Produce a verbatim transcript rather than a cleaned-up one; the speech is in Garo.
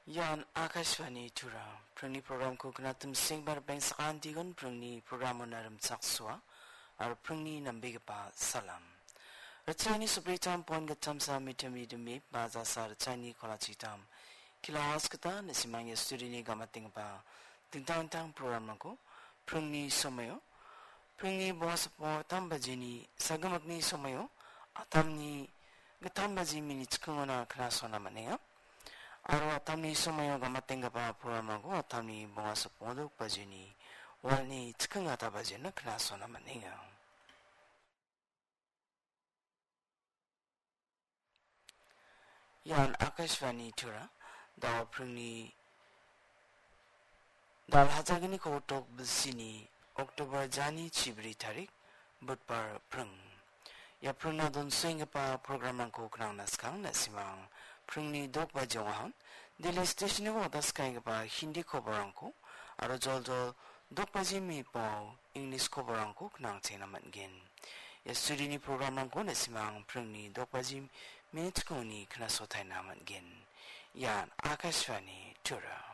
Ian Akashvani Tura. Pringni programko knatim sengbar bengsakan digon pringni programona rimchaksoa, aro pringni nambegipa salam. Ritchani supritam pon gatamsa mitam idumi, bazasa ritchani kolachitam. Kilas kita nasimang ya studini gamatingba dingtang-tang programrangko pringni somayo, pringni bonga sapong tam bajini sagimakni somayo, atamni gitam baji mini chikingona knasona manenga. Aro atamni somayo gamatenggaba programrangko atamni bonga sapong dok bajini walni chiking ata bajina knasona manenga. Ian Akashvani Tura, dal pringni dal hajalgni kogotok bilsini October jani chibri tarik, Budbar pring. Ia pringna donsenggipa programrangko knangna skang nasimang pringni dok bajongahan, Delhi stationiko wadaskaigipa Hindi koborangko, aro joljol dok baji mipao English koborangko knangchena man·gen. Ia studini programrangko nasimang pringni dok baji minit kongni knasotaina man·gen. Ian Akashvani Tura.